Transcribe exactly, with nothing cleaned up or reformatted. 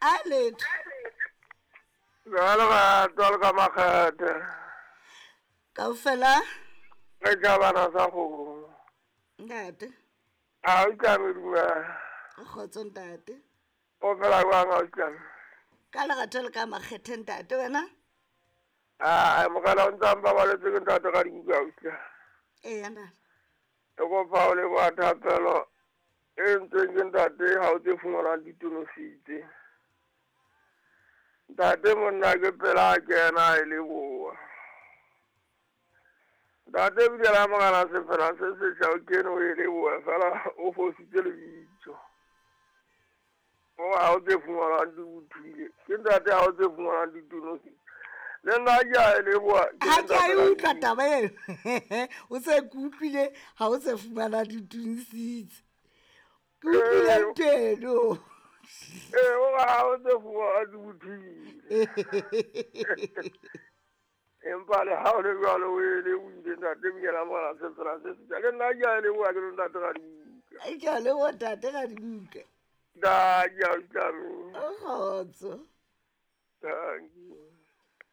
A letho. Ka lerato le ka makgethe. Kaofela. Re tjhabana sa kgomo. Ntate. A o tlame dumela. Kgotso ntate. O phela jwang a o tlame? Ka lerato le ka makgethe ntate wena? Ah, morena o ntse a mpabaletse ke ntate ka dibuka o tlame. Eya ntate. E kopa o leboha thapelo e entsweng ke ntate ha o tse fumanwang ditonositse. Ntate monna ke pela a kena e leboha. Ntate ebile la morena sefela se setjha o kene o e leboha fela o fositse lebitso. O ha o tse fumanwang di bothile. Ke ntate ha o tse fumanwang ditonositse. Le nna ke a e leboha. Ha ke a e utlwa taba eo. O se ke utlwile ha o se fumana ditonositse. Ke utlwile ntho eno. Ee, o ha o tse fumanwang di bothile. Empa le ha o le jwalo o e lebohile ntate ebile la morena sefela se setjha. Le nna ke a e leboha ke le ntate ka dibuka. Ke a leboha ntate ka dibuka. Da, ke a utlwa. Kgotso. Thank you.